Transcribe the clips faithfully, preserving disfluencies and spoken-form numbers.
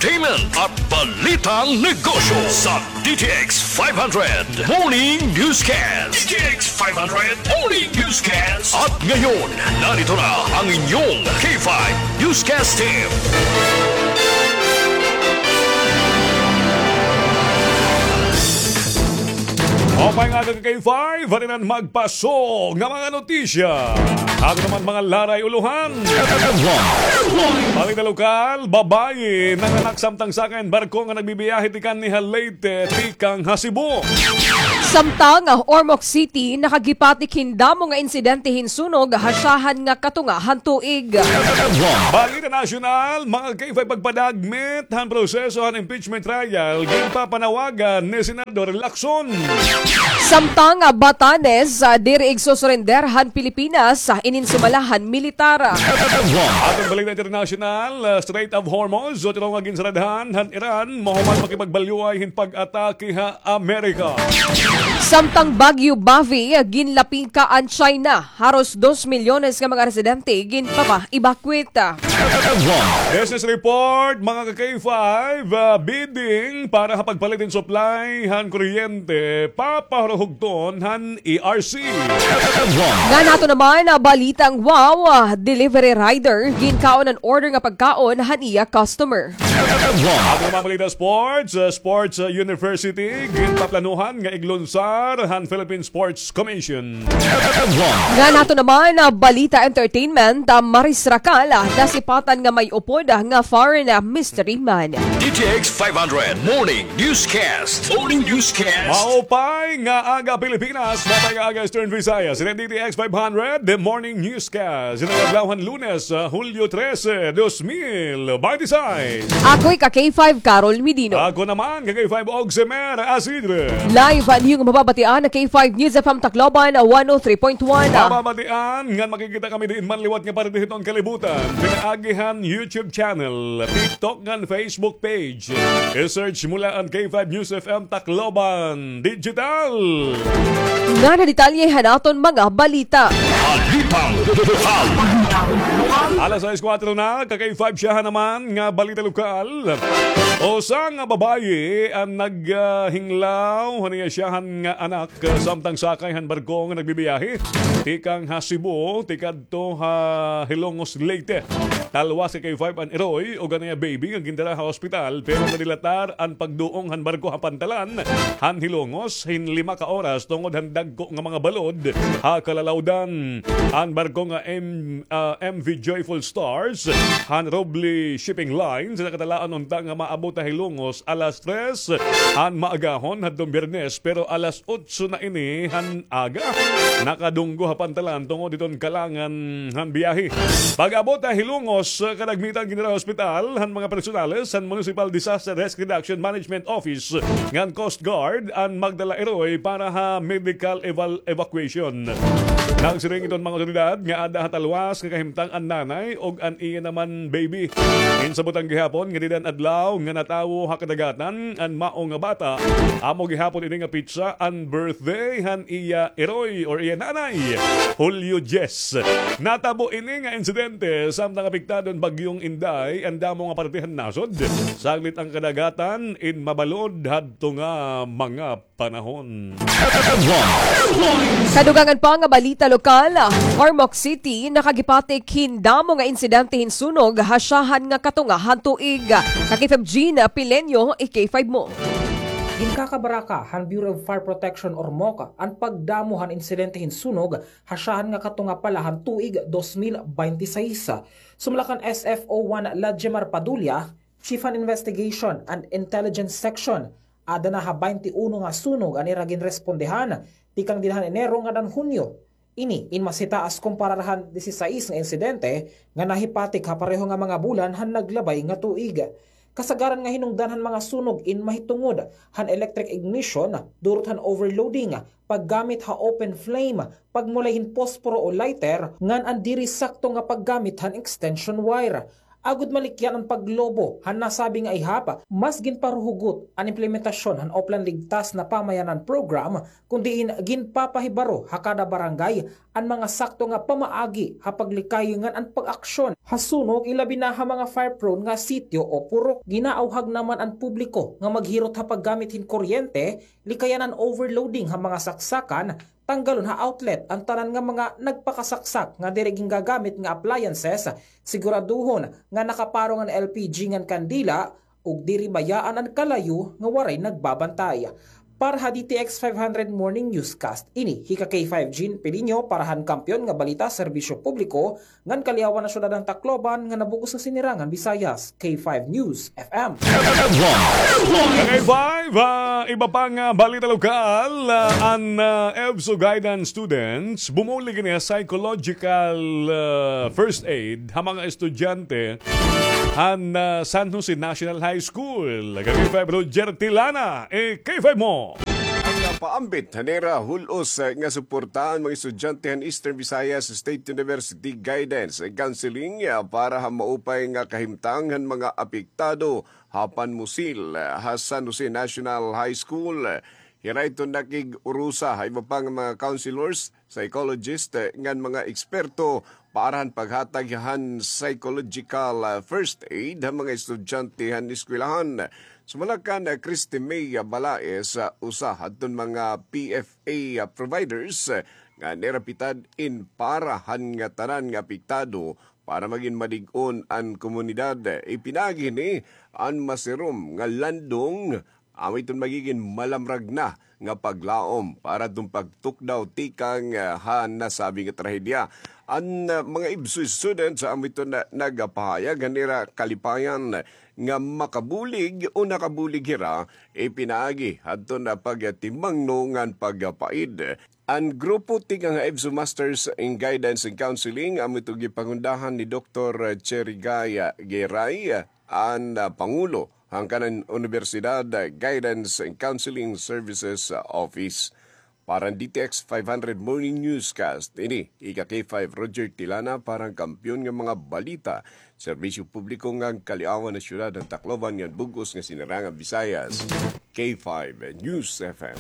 entertainment at balitang negosyo sa D T X five hundred Morning Newscast. D T X five hundred Morning Newscast. At ngayon, narito na ang inyong K five Newscast Team. Okay, mga ka-K five, halinan magpaso nga mga notisya. Ato naman mga laray ulohan. Balita lokal, babaye nanganak samtang sakay hin barko nga nagbibiyahe tikang ha Leyte, tikang ha Cebu. Samtang ha Ormoc City, nakagipatik hin damo nga insidente hin sunog ha syahan nga katunga han tuig. Balita nasyonal, mga ka-K five, pagpadagmit han proseso han impeachment trial, ginpapanawagan ni Senador Lacson. Samtang, ah, Batanes, ah, diri igsusurrender han Pilipinas, ah, inin sumala han militar. Aton balita internasyonal, ah, Strait of Hormuz, otro nga ginsaradhan han Iran, mahuman makipagbalyuay hin pag-atake ha Amerika. Samtang Bagyo Bavi, ah, ginlapingka an China. Haros dos milyones nga mga residente ginpapa-evacuate. Business report, mga ka-K five, ah, bidding para ha pagpalit hin supply han kuryente, papahuruhugton han E R C. Ngan ato naman, ah, balitang wow, ah, delivery rider, ginkaon an order nga pagkaon han iya customer. Ato naman balita sports, ah, sports, ah, university, ginpaplanuhan nga iglunsar han Philippine Sports Commission. Ngan ato naman, ah, balita entertainment, ah, Maris Racal, ah, nasipatan nga may upod, ah, nga foreign, ah, mystery man. D T X five hundred Morning Newscast. Morning Newscast. Maupay nga aga, Pilipinas. Maupay nga aga, Eastern Visayas. Ini D T X five hundred, The Morning Newscast. Ini adlaw han Lunes, ah, Hulyo trese, dos mil binte y seis. Ako hi ka-K five, Carol Medino. Ako naman, ka-K five, Oximer Asidre. Live an iyong mababatian ha K five News F M Tacloban, one oh three point one. Mababatian ngan makikita kami diin man liwat nga parte hiton kalibutan. Pinaagi han YouTube channel, TikTok ngan Facebook page. I-search mo la an K five News F M Tacloban Digital. Ngan ha detalye han aton mga balita. Balitang lokal. Alas sais kuwatro na, ka-K five, syahan naman nga balita lokal. Usa nga babaye an nag, ah, hinglaw han iya syahan nga anak, ah, samtang sakay han barko nga nagbibiyahe tikang ha Cebu, tikadto ha Hilongos, Leyte. Talwas, ka-K five, an iroy ug an iya baby nga gindara ha ospital, pero nadilatar an pagduong han barko ha pantalan han Hilongos hin lima ka oras tungod han dagko nga mga balod ha kalalawdan. An barko nga M-, ah, M V Joyful Stars han Roble Shipping Lines, nakatalaan unta nga maabot ha Hilongos alas tres han maagahon hadtong Biyernes, pero alas otso na ini han aga nakadunggo ha pantalan tungod hiton kalangan han biyahe. Pag-abot ha Hilongos, kadagmitan gindara ha ospital han mga personales han Municipal Disaster Risk Reduction Management Office ngan Coast Guard an magdala iroy para ha medical eval-, evacuation. Nagsiring iton mga otoridad nga ada ha talwas nga kahimtang an nanay ug an iya naman baby. Ginsabutan gihapon nga dida an adlaw nga natawo ha kadagatan an mao nga bata. Amo gihapon ini nga petsa an birthday han iya iroy or iya nanay, Hulyo diyes. Natabo ini nga insidente samtang apektado an Bagyong Inday an damo nga parte han nasod. Saglit an kadagatan in mabalod hadto nga mga panahon. Sa dugangan pa nga balita lokal, Ormoc City nakagipatik hin damo nga insidente hin sunog ha syahan nga katunga han tuig. Ka-K five Jean Pileño, i-K five mo. Ginkakabaraka han Bureau of Fire Protection, Ormoc, an pagdamo han insidente hin sunog ha syahan nga katunga pa la han tuig dos mil binte y seis. Sumala kan S F O one Ladjemar Padulla, Chief han Investigation and Intelligence Section, ada na ha baynte uno nga sunog an ira ginrespondehan tikang dinhi han Enero ngada han Hunyo. Ini in mas hitaas kumparar han disisais nga insidente nga nahipatik ha pareho nga mga bulan han naglabay nga tuig. Kasagaran nga hinungdan han mga sunog in mahitungod han electric ignition, durot han overloading, paggamit ha open flame, pagmulay hin posporo o lighter, ngan an diri sakto nga paggamit han extension wire. Agod malikyan an paglobo han nasabi nga ihap, mas ginparuhugot an implementasyon han Oplan Ligtas na Pamayanan Program, kun diin ginpapahibaro ha kada barangay an mga sakto nga pamaagi ha paglikay ngan an pag-aksyon ha sunog, ilabi na ha mga fire-prone nga sitio o purok. Ginaawhag naman an publiko nga maghirot ha paggamit hin kuryente, likayan an overloading ha mga saksakan, tanggalon ha outlet an tanan nga mga nagpakasaksak nga diri gingagamit nga appliances, siguraduhon nga nakaparong an L P G ngan kandila, ug diri bayaan an kalayo nga waray nagbabantay. Para ha D T X five hundred Morning Newscast, ini hi ka K five Jean Pilinho para han Kampiyon nga Balita, Serbisyo Publiko, ngan Kaliawan na Syudad han Tacloban nga nabug-os nga sinirangan Visayas, K five News F M. K five, ah, iba pa nga balita lokal, ah, an, ah, EVSU guidance students bumulig ini ha psychological, ah, first aid ha mga estudyante han, ah, San Jose National High School. K five Roger Tilana, eh, K five mo. An paambit han ira hul-os, eh, nga suporta an mga estudyante han Eastern Visayas State University Guidance and Counseling, eh, para ha maupay nga kahimtang han mga apektado ha panmusil, eh, ha San Jose National High School. Hira iton nakig-urusa ha iba pa nga mga counselors, psychologist, eh, ngan mga eksperto para han paghatag han psychological, ah, first aid ha mga estudyante han eskwelahan. Sumala kan, ah, Christy May, ah, Balaes, ah, usa hadton mga P F A, ah, providers, ah, nga nirapitad in para han ngatanan nga apektado para magin malig-on an komunidad. Ipinaagi hini an masirom nga landong amo iton magigin malamrag na nga paglaom para adton pagtukdaw tikang, ah, ha nasabi nga trahedya. An, ah, mga EVSU students, ah, amo iton na, nagapahayag han ira kalipayan nga makabulig o nakabulig hira, ipinaagi hadton na pagtimangno ngan pagpaid. An grupo tikang ha EVSU Masters in Guidance and Counseling, amo ito gipangundahan ni Doktor Cherry Guy, ah, Geray, ah, an, ah, pangulo han kanan Universidad, ah, Guidance and Counseling Services, ah, Office. Para han D T X five hundred Morning Newscast, ini hi ka K five Roger Tilana para han Kampiyon nga mga balita, Serbisyo Publiko ngan Kaliawan na Syudad han Tacloban ngan bug-os nga sinirangan Visayas, K five News F M.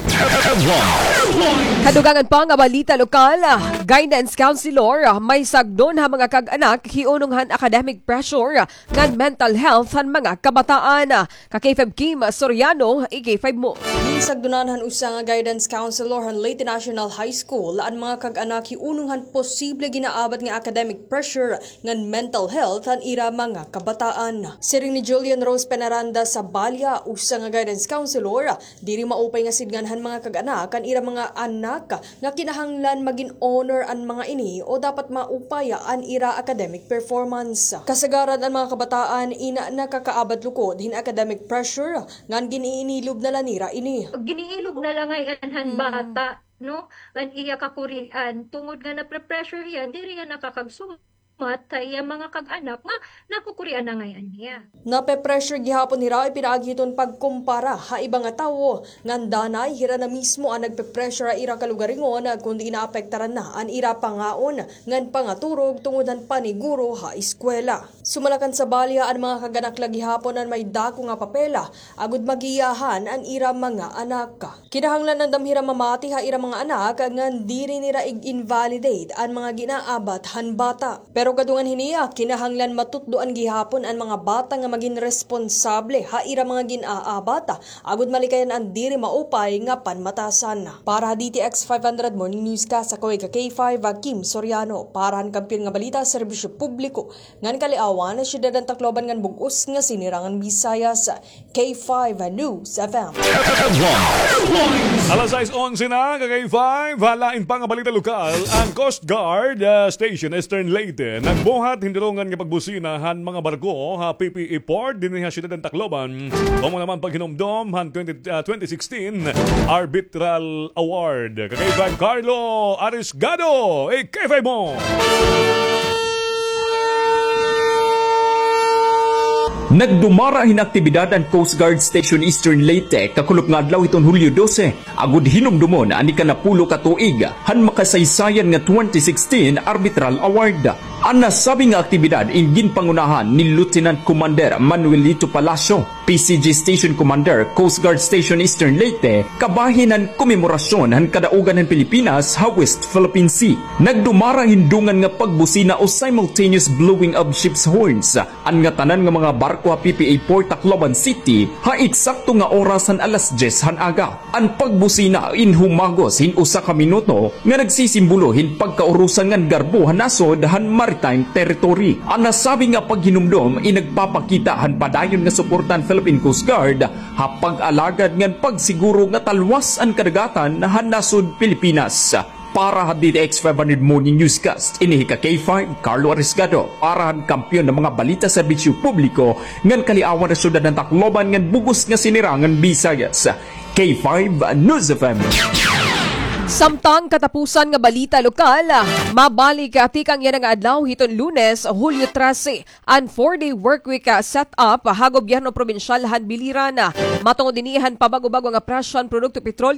Kadugangan pa nga balita lokal, guidance counselor, may sagdon ha mga kag-anak hiunong han academic pressure ngan mental health han mga kabataan. Ka K five Kim Soriano, i K five mo. Ginsagdonan han usa nga guidance counselor han Leyte National High School an mga kag-anak hiunong han posible ginaabat nga academic pressure ngan mental health han ira mga kabataan. Siring ni Julian Rose Penaranda Sabalia, usa nga guidance counselor, diri maupay nga sidngan han mga kag-anak an ira mga anak nga kinahanglan magin honor an mga ini o dapat maupaya an ira academic performance. Kasagaran an mga kabataan in nakakaabat lukod hin academic pressure ngan gin-iinilob na la nira ini. Gin-iilob na la ngay-an han bata, no? An iya kakurian, tungod nga napre-pressure hiya, diri hiya nakakagsumat ha iya mga kag-anak nga nakukurian na ngay-an hiya. Nape-pressure gihapon hira ipinaagi hiton pagkumpara ha iba nga tawo, ngan danay hira na mismo an nagpe-pressure ha ira kalugaringon, kundi naapektaran na an ira pangaon ngan pangaturog tungod han paniguro ha eskwela. Sumala kan Sabalia, an mga kag-anak la gihapon an may dako nga papel agod magiyahan an ira mga anak. Kinahanglan andam hira mamati ha ira mga anak ngan diri nira ig-invalidate an mga ginaabat han bata. Pero kadungan hini, kinahanglan matutdoan gihapon an mga bata nga magin responsable ha ira mga gin-aabat agod malikayan an diri maupay nga panmatasan. Para ha D T X five hundred Morning Newscast, ako hi ka K five, Kim Soriano. Para han Kampiyon nga Balita, Serbisyo Publiko, ngan Kaliawan, Syudad han Tacloban ngan bug-os nga sinirangan Visayas, K five News F M. Alas sais onse na, ka K five, ha lain pa nga balita lokal, an Coast Guard, ah, Station Eastern Leyte nagbuhat hin dulongan nga pagbusina han mga barko ha P P E Port dinhi ha Syudad han Tacloban. Amo naman paghinumdom han twenty, ah, twenty sixteen Arbitral Award. Ka K five Carlo Arisgado, i K five mo. Nagdumara hin aktibidad an Coast Guard Station Eastern Leyte kakulop nga adlaw hiton Hulyo dose, agod hinumdomon an ikanapulo ka tuig han makasaysayan nga twenty sixteen Arbitral Award. An nasabi nga aktibidad in ginpangunahan ni Lieutenant Commander Manuelito Palacio, P C G Station Commander, Coast Guard Station Eastern Leyte, kabahin han komemorasyon han kadaugan han Pilipinas ha West Philippine Sea. Nagdumara hin dungan nga pagbusina o simultaneous blowing of ships' horns an ngatanan nga mga barko ha P P A Port Tacloban City ha eksakto nga oras han alas dyes han aga. An pagbusina in humagos hin usa ka minuto nga nagsisimbolo hin pagkaurusan ngan garbo han nasod han maritime territory. An nasabi nga paghinumdom in nagpapakita han padayon nga suporta han Philippine Coast Guard ha pag-alagad ngan pagsiguro nga talwas an kadagatan han nasod Pilipinas. Para ha D T X five hundred Morning Newscast, ini hi ka K five, Carlo Arisgado. Para han kampiyon nga mga balita, serbisyo publiko, ngan kaliawan han syudad han Tacloban ngan bug-os nga sinirangan Visayas, K five News F M. Samtang katapusan nga balita lokal, mabalik tikang yana nga adlaw hiton Lunes, Hulyo trese, an four-day workweek, ah, set-up ha gobyerno probinsyal han biliran. Matungod ini han pabag-o-bag-o nga presyo han produkto petrolyo,